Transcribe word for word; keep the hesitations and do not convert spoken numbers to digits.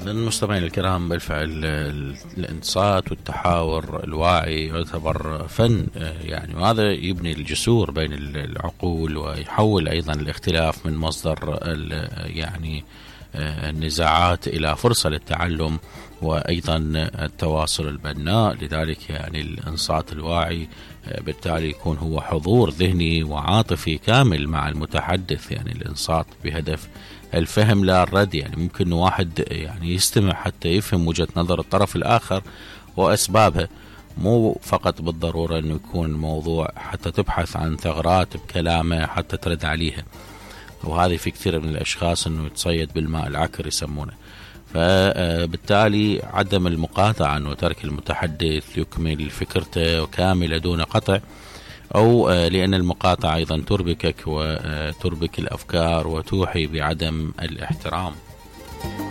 للمستمعين الكرام، بالفعل الانصات والتحاور الواعي يعتبر فن يعني، وهذا يبني الجسور بين العقول ويحول أيضا الاختلاف من مصدر يعني النزاعات إلى فرصة للتعلم وأيضا التواصل البناء. لذلك يعني الإنصات الواعي بالتالي يكون هو حضور ذهني وعاطفي كامل مع المتحدث، يعني الإنصات بهدف الفهم لا الرد. يعني ممكن واحد يعني يستمع حتى يفهم وجهة نظر الطرف الآخر وأسبابها، مو فقط بالضرورة أنه يكون موضوع حتى تبحث عن ثغرات بكلامه حتى ترد عليها، وهذه في كثير من الأشخاص أنه يتصيد بالماء العكر يسمونه. فبالتالي عدم المقاطعة وترك المتحدث يكمل فكرته كاملة دون قطع، أو لأن المقاطعة أيضا تربكك وتربك الأفكار وتوحي بعدم الاحترام.